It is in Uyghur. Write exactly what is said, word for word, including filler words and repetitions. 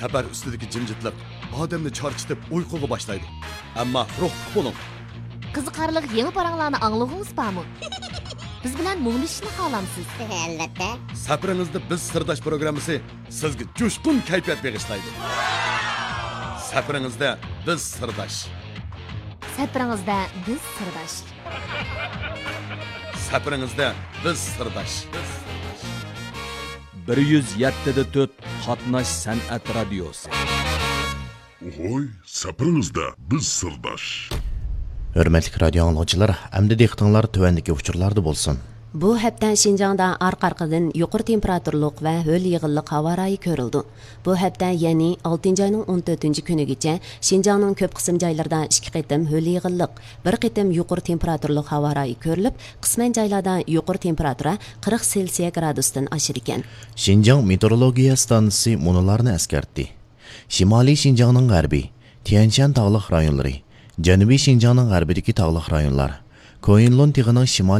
سەپەر ئۈستىدىكى جىمجىتلىق ئادەمنى چارچىتىپ ئۇيقۇغا باشلايدۇ. ئەمما روھلۇق بولۇڭ. قىزىقارلىق يېڭى پاراڭلارنى ئاڭلىغۇڭىز بارمۇ؟ بىز بىلەن مۇڭدىشىشنى خالامسىز؟ ئەلۋەتتە. سەپىرىڭىزدە بىز سىرداش پروگراممىسى سىزگە جۇشقۇن كەيپىيات بېغىشلايدۇ. سەپىرىڭىزدە بىز سىرداش. سەپىرىڭىزدە بىز سىرداش. سەپىرىڭىزدە بىز سىرداش. بىر يۈز يەتتە دە تۆت قاتناش سەنئەت رادىيوسى. ھوي، سەپىرىڭىزدە بىز سىرداش. ھۆرمەتلىك رادىيو ئاڭلىغۇچىلار، ئەمدى دىققىتىڭلار تۆۋەندىكى ئۇچۇرلاردا بولسۇن. بۇ ھەپتە شىنجاڭدا ئارقا-ئارقىدىن يۇقىرى تېمپېراتۇرلۇق ۋە ھۆل يېغىنلىق ھاۋا رايى كۆرۈلىدۇ. بۇ ھەپتە، يەنى ئالتىنچى ئاينىڭ ئون تۆتىنچى كۈنىگىچە شىنجاڭنىڭ كۆپ قىسىم جايلىرىدا ئىككى قېتىم ھۆل يېغىنلىق، بىر قېتىم يۇقىرى تېمپېراتۇرلۇق ھاۋا رايى كۆرۈلۈپ، قىسمەن جايلاردا يۇقىرى تېمپېراتۇرا قىرىق سېلسىيە گرادۇستىن ئاشىدىكەن. شىنجاڭ مېتېئورولوگىيە ئىستانسىسى مۇنۇلارنى ئەسكەرتتى. شىمالىي شىنجاڭنىڭ غەربى، تيەنشەن تاغلىق رايونلىرى، جەنۇبىي شىنجاڭنىڭ غەربىدىكى تاغلىق رايونلار، كويىنلۇن تېغىنىڭ شىمالىي